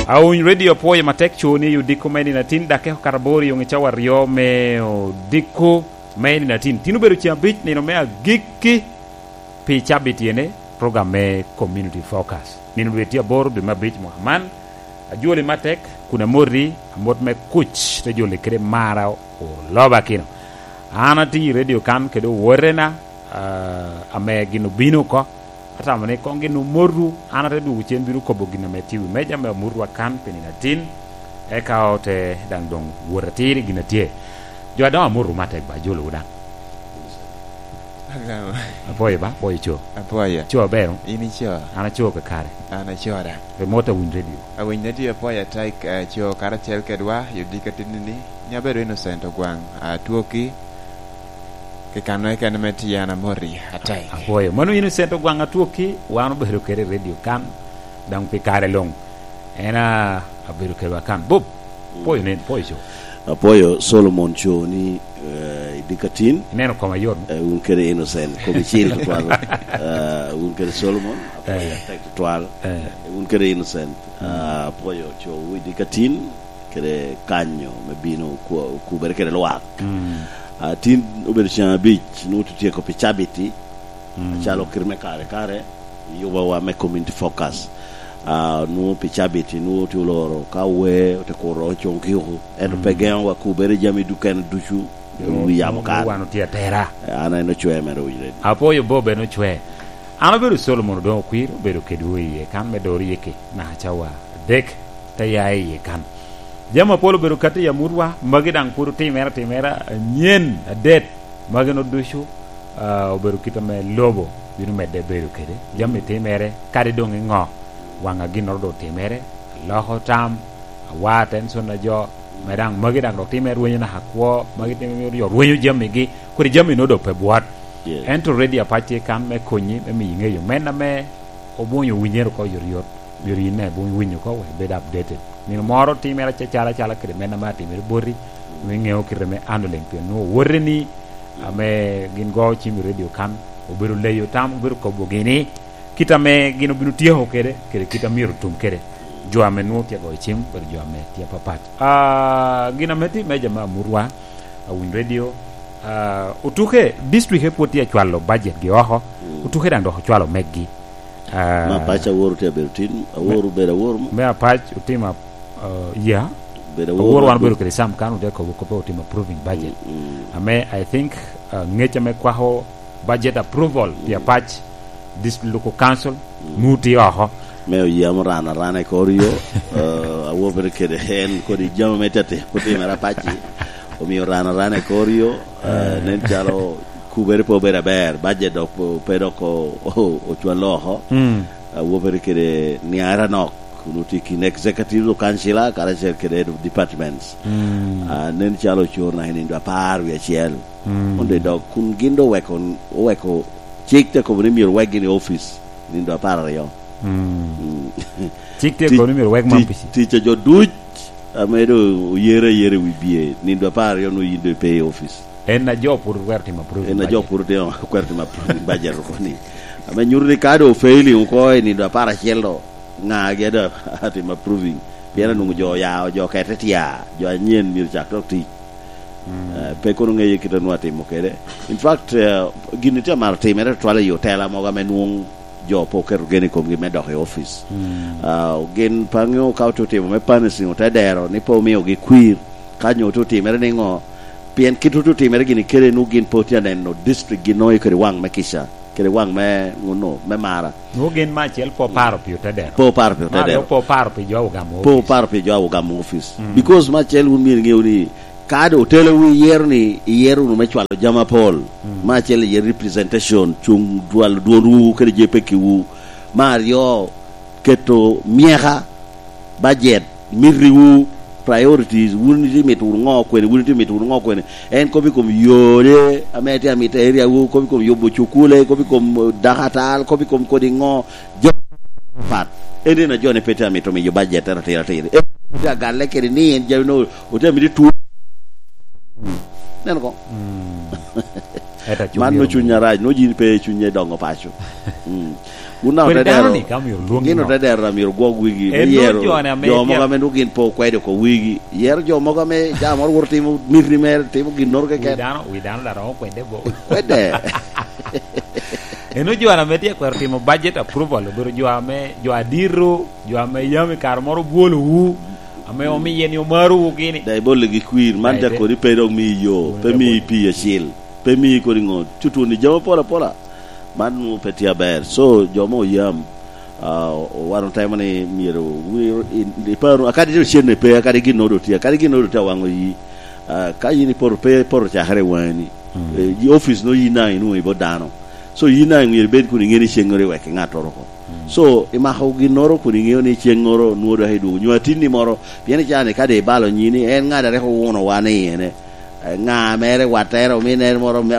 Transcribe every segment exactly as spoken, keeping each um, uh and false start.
Awiny Radio apwoyo matek co ni odiko me nino atin, dok eko karaboro i oŋe cawa aryo me odiko me nino atin. Tin obedo ceng abic, nino me agikki pi cabit ene, program me Community Focus. Nino dwe tye aboro, dwe me abic mwaka man. Ajoli matek, kun amoti, amot me kuc, te joli kede mara oloba kino. An atye i radio kan kede owotena, ah, ame gin obino oko. Atamo ni koŋ gin omotu, an ate dwogo cen bino kobo gin ame tye i wi meja me amutwa kan pi nino atin, eka ote daŋ doŋ wot atir i gin a tye. Jo adoŋo amotu matek ba, ajolowu daŋ. Agamo. Apwoyo ba, apwoyo co. Apwoyo. Co aber, o? In ico? An aco kakare. An aco daŋ. Pe mot awiny radio. Awiny radio apwoyo atek, eh, co karacel kedwa, i odiko atinni ni, ni abedo Innocent Ogwaŋ, Atwoki, pi kan kene me tye an amoti atek. Apwoyo. Mano Innocent Ogwaŋ Atwoki, wan obedo kede i radio kan, daŋ pi kare luŋ. En a, abedo kedwa kan. Bob, apwoyo nen, apwoyo co. Apwoyo Solomon co ni, eh, i dikatin. Ineno koma yot. Eh, wun kede Innocent, komi cil tutwal. Eh, wun kede Solomon, apwoyo atek tutwal. Eh. Wun kede Innocent, ah, apwoyo co wu i dikatin, kede kanyo me bino ku-, okubere kede lwak. Mm. Ah, tin obedo ceng abic, nwoŋo tye tyeko pi cabiti, acalo kite me kare kare, yubawa me Community Focus. Ah, nwoŋo pi cabiti, nwoŋo tye oloro ka wee, ote kuro coŋ kiko. Ento pe geŋo wa kubere jami dukene ducu, wi yamo kan. Wan otye atera. Eh, an en ocwe mere winyo. Apwoyo Bob en ocwe. An obedo Solomon Odoŋo Okwir, obedo kedwu iye kan me doro yeke, naka cawa adek, te ya iye kan. Jami apol obedo kati i amutwa, magi daŋ pwod otimere atimera anyen, adet, magi no ducu, ah, obedo kit ame lobo bino medde bedo kede. Jami timere, kadi doŋ i ŋo, waŋa ginnoro doŋ otimere, aloko tam, awar tension a jo, me daŋ magi daŋ dok timere rwenyo naka kwo, magi timere jo rwenyo jamigi, kodi jami no doŋ pe bwot. Yes. Ento radio apac tye kan me konyi, me miyi ŋeyo, men ame obwonyo winyere oko yotyot. Myero yin daŋ ibwony winyo oko, wek ibed updated. Nino moro timere acacala, acala kede meno ame atimere boti, me ŋeo kite me handling, pien nwoŋo owoteni ame gin go cim i radio kan, obedo leyo tam, obedo kobogi ni, kit ame gin obino tyeko kede, kede kit a myero otum kede. Jo ame nwoŋo tye goyo cim, obedo jo ame tye apapat. Ah, gin ame tye i meja me amutwa, awiny radio, ah, otuke, district pwod tye acwalo budget gi oko, mm, otuke daŋ dok ocwalo meggi. Ah, me Apac Awor tye abedo tin, Awor me, obedo Awor mo? Me Apac otimo, uh, yeah. Bedo Awor Awor wan obedo kede Sam kan ote kobo kop pe otimo approving budget. Mm, mm. Ame, I think, uh, ngec ame kwako budget approval pi, mm, Apac District Local Council, mm, nwoŋo tye oko. Me oyamo ran arana i kor yo, uh, Awor bedo kede en kodi jami me tete otimere Apac-ci. Omio ran arana i kor yo, uh, eh, nen calo kubere pe obedo aber, budget dok pe, pe dok o-, o-, ocwalo oko. Mm. Awobere kede niara nok, kun otye kin executive councilor, karacel kede head of departments. Mm. Ah, nen calo ocoro naka i nindo apar wie acel. Mm. Onde dok, kun gin do oweko, oweko cik te kobo ni myero wek gin i office nindo apar aryo. Mm. Mm. Cik te kobo ni myero wek man tic, tic a jo duc ame do oyere ayera i wi bye, nindo apar aryo nwo yin do ipe i office. En a jo pwod otwero timo approving budget. En a jo pwod otwero timo approving budget oko ni. Ame nyuto ni ka do failing oko i nindo apar acel do, ŋa agi a do atimo approving? Pien anwoŋo jo oya, jo okete tya, jo anyen myero cak dok tic. Mm. Eh, pe kono ŋeye kit anwoŋo atimo kede. In fact, eh, gini tye amaro timere tutwal i otela mogo ame nwoŋo jo pe oketo gen i komgi me dok i office. Mm. Ah, gin pe aŋeo ka ote otimo me punishing ote dero ni pe omiogi kwir, ka nyo ote otimere niŋo? Pien kit ote otimere gini kede nwoŋo gin pe otye aneno district gin nwoŋo kede waŋ me kica, kede waŋ me ŋuno, me mara. Nwoŋo gin me acel pe oparo pi ote dero. Pe oparo pi ote dero. Me aryo pe oparo pi jo a ogamo office. Pe oparo pi jo a ogamo office. Mm. Because me acel wun myero iŋew ni ka doŋ otelewu iyero ni iyero wunu me cwalo jami apol, mm, me acel iye representation, cuŋ dwalo dwonwu kede je pekkiwu. Me aryo, keto myeka, budget, mitiwu, priorities, wun itye mito wunu ŋo kwene, wun itye mito wunu ŋo kwene. En kop i kom yode ame itye amito i area wu, kop i kom yubo cukule, kop i kom dakatal, kop i kom kodi ŋo. Jo pat. En en a jo ne pe tye amito miyo budget atira atira. En tye agalle kede ni en jami no otye amito tu. Neno ko? Mm. Ento aco Man myero nwo cuny arac, nwo yin pe cuny i dongo paco. Mm. Wun na Kwede otedero, dano-ni ka myero lwongi gin no. Otedero na myero gwok wigi, me En nwo yero jo-ni ame jo mogo tye ame nwo gin pe okwede oko wigi. Yero jo mogo ame ca moro wot timo miti mere, timo ginnoro Wi keken. Dano, wi dano dok romo kwede bo. Kwede. Eno jo ame tye kwero timo budget approval, obedo jo ame, jo adito, jo ame yam i kare moro bwolowu, ame omiye ni omarowu gini. Da ibolle gi kwir, man Aye te. Jakoni pe dok mi yo, Wun pe mi ipi acil, pe mi kodi ŋo, cutu ni jami pol apola. Man nwo pe tye aber. So, jo mo yam, ah, o-, wan otemo ni myero wi-, i, i paru, akadi tye ocenne pe, akadi gin nwo doŋ tye, akadi gin nwo doŋ tye awaŋo yi. Ah, ka yin ipoto pe, ipoto cakere i waŋi ni. Mm. Eh, i office no yin daŋ inwoŋo i bot dano. So yin daŋ myero ibed kun iŋeo ni ceŋŋoro iwek i ŋattoro oko. Mm. So, imako ginnoro kun iŋeo ni ceŋŋoro nwoŋo dok idwogo. Nyo atinni moro, pien icaa ni ka doŋ ibalo nyi ni en ŋat a rik owuno wa ni ene, eh, ŋa mere, wattere, ominere moro, me,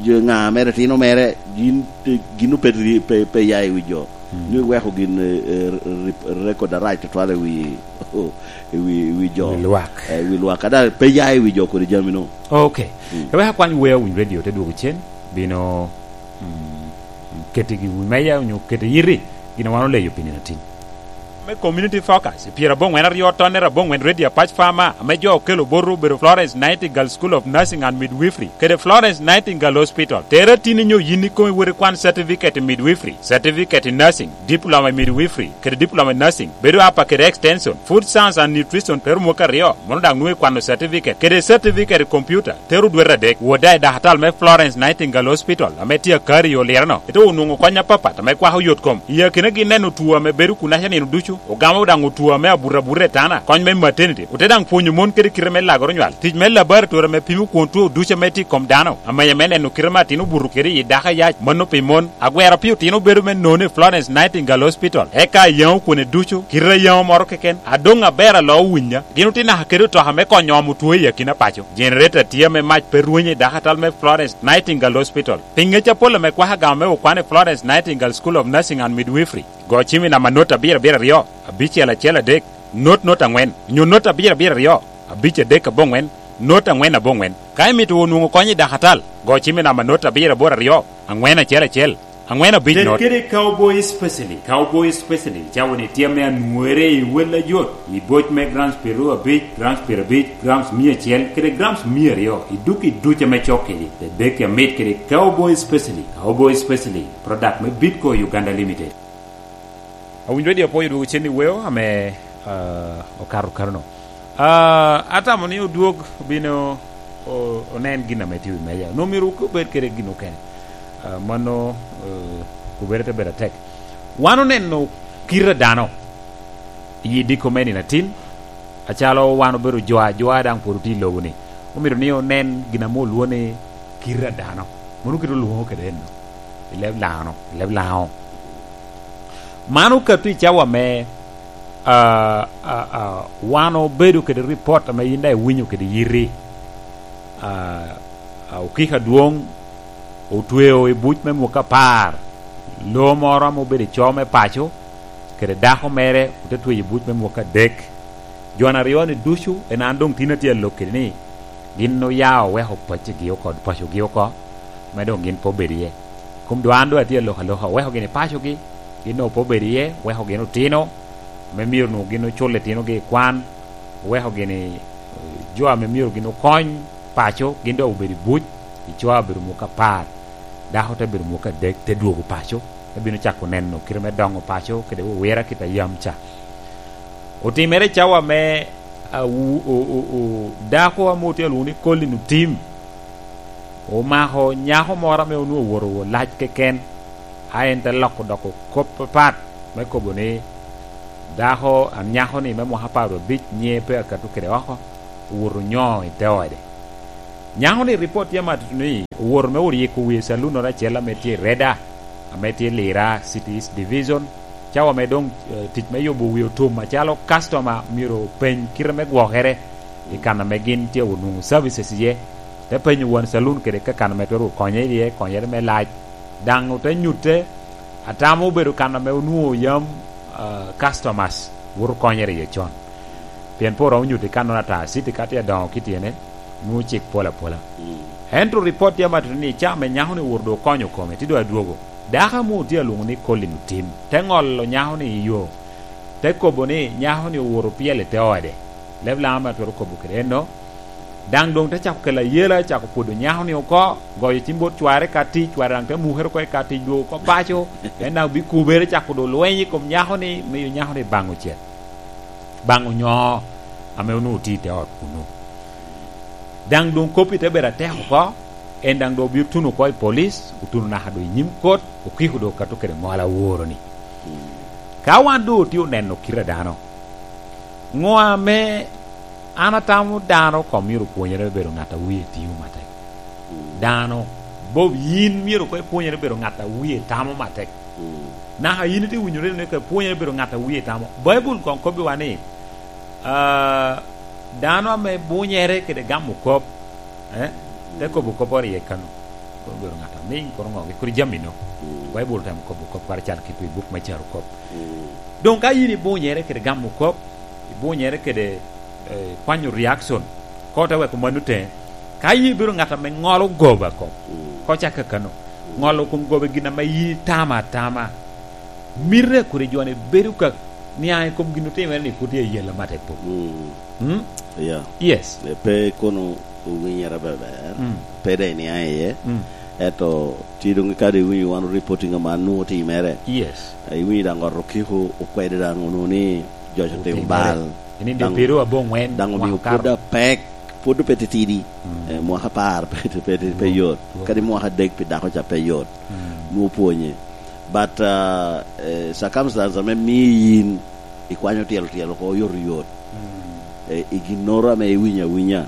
jo, ŋa mere, tino mere, yin, eh, gin ope ri-, pe, pe ya i wi jo. Mm. Ni weko gin, eh, eh, rip-, record arac tutwal i wi, i wi, i wi jo. I wi lwak. Eh, i wi lwak. Ada pe ya i wi jo kodi jami no. Ok. Mm. Ka wek akwany wer Winy Radio te dwogo cen, bino, mm, kete gi wi meja onyo kete yiti, gin a wan oleyo pi nino atin. Me Community Focus, i pyerabongwen aryo tonnere abongwen Radio Apac Farmer, ame jo okelo botwu obedo Florence Nightingale School of Nursing and Midwifery, kede Florence Nightingale Hospital. Tere atin inyo yin ikomi wot ikwan certificate in midwifery, certificate in nursing, diploma in midwifery, kede diploma in nursing, bedo apa kede extension, food science and nutrition, te ru mwaka aryo, mono daŋ nwoŋo ikwano certificate, kede certificate i computer, te ru dwete adek. Wot daŋ i dakatal me Florence Nightingale Hospital, ame tye Akari i Olireno, ite onwoŋo kony apapat ame kwako yot kom. I akinagi neno two ame bedo kunaca nino ducu, ogamo daŋ two ame abuto abuta i tana, kony me maternity, ote daŋ pwonyo mon kede kite me lagoro nywal, tic me laboratory ame pimo kwon two ducu ame tye i kom dano, amenya me neno kite me atin obuto kede i dako ayac, mano pi mon. Agwero pi otino bedo me none i Florence Nightingale Hospital, eka ayaŋo kwone ducu, kite ayaŋo moro keken, adoŋ aber alo winya. Gin otye naka kede otoka me konyo omo two i akina paco. Generator tye ame mac pe rwenyo i dakatal me Florence Nightingale Hospital. Pi ŋec apol ame kwako agama me okwan i Florence Nightingale School of Nursing and Midwifery, go cim i namba not abiro abiro aryo, abicel acel adek, not not angwen, nyo not abiro abiro aryo, abic adek aboŋwen, not angwen aboŋwen. Ka imito onwoŋo kony i dakatal, go cim i namba not abiro aboro aryo, angwen acel acel, angwen abic Ted not. Kede Cowboy Specialty. Cowboy Specialty cawa ni tye ame anwore i wel ajot, i boc me grams piero abic, grams piero abic, grams mia acel, kede grams mia aryo, i duk i duc ame cok kedi. Tedeki amit kede Cowboy Specialty. Cowboy Specialty, product me Bitco Uganda Limited. Awinyo Radio apwoyo dwogo cen i weo ame, ah, okato kano-no. Ah, atamo ni odwog obino o-, onen gin ame tye i wi meja. Onwoŋo myero obed kede gin okene. Ah, mano, eh, kubere te bedo atek. Wan oneno kite a dano i diko me nino atin, acalo wan obedo jo ajwa daŋ pwod otye i lobo-ni. Omito ni onen gin ame olwoŋo ni kite a dano. Mano kite olwoŋo kede enno. I leb Laŋo, i leb Laŋo. Man okato i cawa me, ah, ah, ah, wan obedo kede ripot ame yin daŋ iwinyo kede yiti. Ah, ah, okiko adwoŋ otweo i buc me mwaka apar. Lo moro ame obedo i co me paco, kede dako mere ote tweyo i buc me mwaka adek. Jo aryo-ni ducu en an doŋ tin atye alok kede ni, gin oya oweko pacigi oko, pacogi oko, me doŋ gin pe obed iye. Kom doŋ an doŋ atye alok aloka, oweko gini pacogi, gin doŋ pe obed iye, oweko gin otino, me myero onwoŋo gin ocul itinogi i kwan, oweko gini, eh, jo ame myero gin okony paco, gin doŋ obedo i buc, i cwa obedo mwaka apar, dako te bedo mwaka adek, te dwogo paco, te bino cako neno kite me doŋo paco, kede wowira kit a yam ca. Otimere i cawa me, ah, wu-, o-, o-, o-, dako ame otye alwoŋo ni Colin Otim, omako nyako moro ame onwoŋo owoto wot lac keken, a en te loko doko kop apat me kobo ni, dako, a, nyako-ni me mwaka apar abic nyiŋe pe akato kede oko, owoto onyo i te ode. Nyako-ni, ripot tye amatutu ni owoto me oryeko wie i calunnoro acel ame tye i Reda, ame tye i Lira City East Division. Cawa me doŋ, eh, tic me yubo wie otum acalo customer myero openy kite me gwokere i kan ame gin tye onwoŋo services iye. Te penyo wan saloon kede ka kan ame twero konye iye, konyere me lac. Daŋ ote nyutte, atamo obedo kan ame onwoŋo yam, ah, customers woto konyere iye con. Pien pe oromo nyuto i kannono ata, city ka tye adoŋo ki tyene, Nwoŋo cik pol apola. Mm. Ento ripot tye amatuno ni ca me nyako-ni owoto doŋ okonyo kome, tye doŋ adwogo. Dako ame otye alwoŋo ni Colin Otim, te ŋolo nyako-ni i yo, te kobo ni nyako-ni owoto pyel i te ode. Leb lam ame atwero kobo kede enno, daŋ doŋ te cako kelo ayela, cako pwodo nyako-ni oko, goyo cim bot cware ka tic, cware daŋ te mukere oko i ka tic, dwogo oko paco, en daŋ bikubere, cako doŋ lweny i kom nyako-ni, miyo nyako-ni baŋ ocet, baŋ onyo ame onwoŋo tye i te ot kunnu. Daŋ doŋ kop-pi te bedo atek oko, en daŋ doŋ obino tuno oko i polic, otuno naka doŋ i nyim kot, okiko doŋ okato kede ŋol aworo-ni. Ka wan doŋ otye oneno kite a dano, ŋo ame an atamo dano koŋ myero opwonyere me bedo ŋat a wie timo matek? Dano, Bob, yin myero koŋ ipwonyere bedo ŋat a wie tamo matek. Naka yin itye winyo reno ni koŋ ipwonyere bedo ŋat a wie tamo. Baibul koŋ kobbiwa ni, ah, dano ame bunyere kede gamo kop, eh, te kobo kop orye kano. Kono obedo ŋat amiŋ, kono ŋo, kodi jami-nu. Baibul otemo kobo kop kara cal kit i buk me Carokop. Doŋ ka yin ibunyere kede gamo kop, ibunyere kede, eh, kwanyo reaction, koŋ te weko mano teŋe. Ka yin ibedo ŋat ame ŋolo goba kop, koŋ cak kakano. Ŋolo kom goba gin ame yin itamo atama. Mitte kodi jo-ni bedo ka niaŋ i kom gin otimere ni pwod tye ayela matek pok. Mm. Mm? Yeah. Yes. Eh, pe kono owinyere beber, mm, pe de iniaŋ iye. Mm. Ento tye doŋ kadi iwinyo wan reporting aman nwoŋo otimere. Yes. Eh, iwinyo daŋ ot okiko okwede daŋ onwoŋo ni joc otimo bal. Eninde daŋ, piro aboŋwen daŋ omio mwaka pwod apek, pwod pe titidi. Mm. Eh, mwaka apar pe, pe, pe, pe yot. Kadi mwaka adek pi dako ca pe yot. Mm. Nwoŋo pwonye. But, uh, eh, circumstance ame mio yin ikwanyo tyelo tyelo oko oyotoyot. Mm. Eh, i ginnoro ame iwinyo awinya.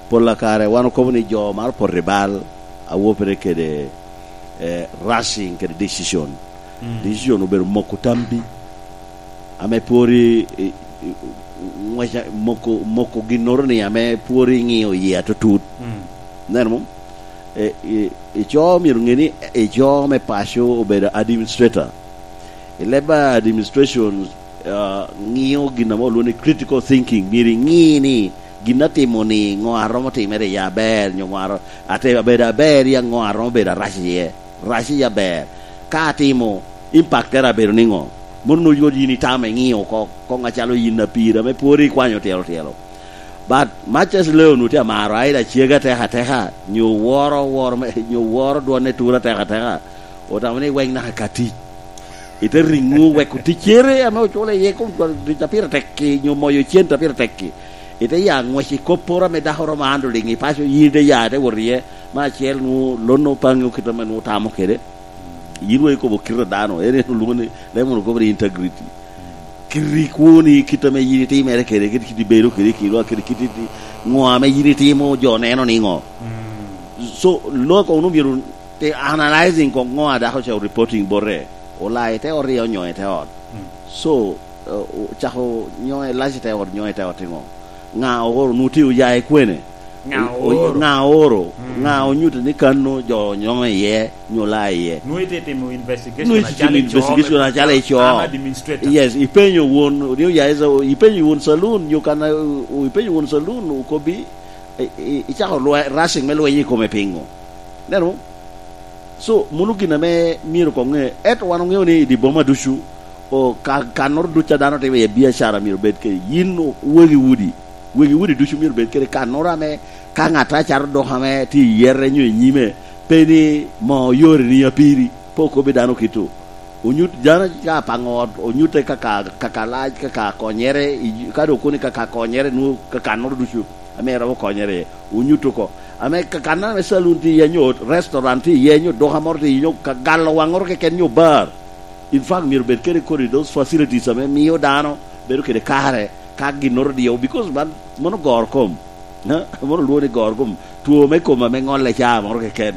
Pol a kare wan okobo ni jo maro poto i bal, awopere kede, eh, rushing kede decision. Mm. Decision obedo moko tambi. Ame pwod i, i, i, ngweca, moko, moko ginnoro ni ame pwod iŋio iye atutut. Mm. Neno mom? E, i, i co myero ŋe ni, i co me paco obedo administrator. I leb a administration, ah, ŋio gin ame olwoŋo ni critical thinking. Myero iŋi ni gin atimo ni ŋo aromo timere iye aber, nyo ŋo aro-, ate-, abedo aber ya ŋo aromo bedo arac iye. Rac i aber. Ka atimo, impact tere abedo niŋo? Mono nwoŋo yot yin itamo iŋio oko, koŋ acalo yin apir ame pwod ikwanyo tyelo tyelo. But much as Leon otye amaro Aida cege atek ateka, nyo woro, woro me, nyo woro dwonne tur atek ateka, otamo ni wek naka ka tic. Ite riŋo weko ticcere ame ocule iye kom tic a pire tek-ki, nyo moyo cente a pire tek-ki. Ite ya ngwec i kopporo ame dako romo handling i paco, yin ite ya ite wot iye. Me acel nwoŋo lonno paŋi kit ame nwoŋo tamo kede. Yin wa ikobo kit a dano, en en olwoŋo ni, Lemon okobo ni integrity. Kit rik woni kit ame yin itimere kede, kit kit ibedo kede, kit wa kede kit iti-, ŋo ame yin itimo, jo neno niŋo? Mm. So, loko wunu myero te analyzing ko ŋo a dako ca reporting bote. Olai te ot, rio nyo ite ot. Mm. So, eh, o-, cako nyo elac ite ot, nyo ite ot iŋo? Ŋa ooro nu tye oya i kwene? Ŋa o-, o-, ooro? Ŋa ooro? Mm. Ŋa onyuto ni kan nu jo onyoŋo iye, nyo la iye? Nu ite timo investigation. Nu ite timo acalo i investigation co, acalo i co. An administrator. Yes, ipenyo won, ni oya i sa-, ipenyo won saloon, nyo kan, o-, ipenyo won saloon, okobbi, i-, i-, icako lwe-, rushing me lweny i kome piŋo? Neno? So, mano gin ame myero koŋ ŋe. Ento wan oŋeo ni i dye boma ducu, o, ka-, kannoro ducu a dano timo iye biacara myero bed kede yin o-, wegi udi. Wegi udi ducu myero bed kede kannoro ame ka ŋat acato dok ame tye i yete nyo i nyime, pe ni mo yore ni apiri, pe okobbi dano kito. Onyut dano ka apaŋo ot, onyutte kaka, kaka lac, kaka konyere, i, ka dok koni kaka konyere, nwoŋo ka kannoro ducu ame romo konyere iye, onyut oko. Ame ka-, kannoro ame saloon tye iye, nyo restaurant tye iye, nyo duka moro tye iye, nyo ka galo waŋoro keken, nyo bar. In fact, myero bed kede kodi those facilities ame mio dano bedo kede kare ka ginnoro diyo, because man, mano goro kom. Ha? Mano lwongo ni goro kom. Two me kom ame ŋolle caa moro keken.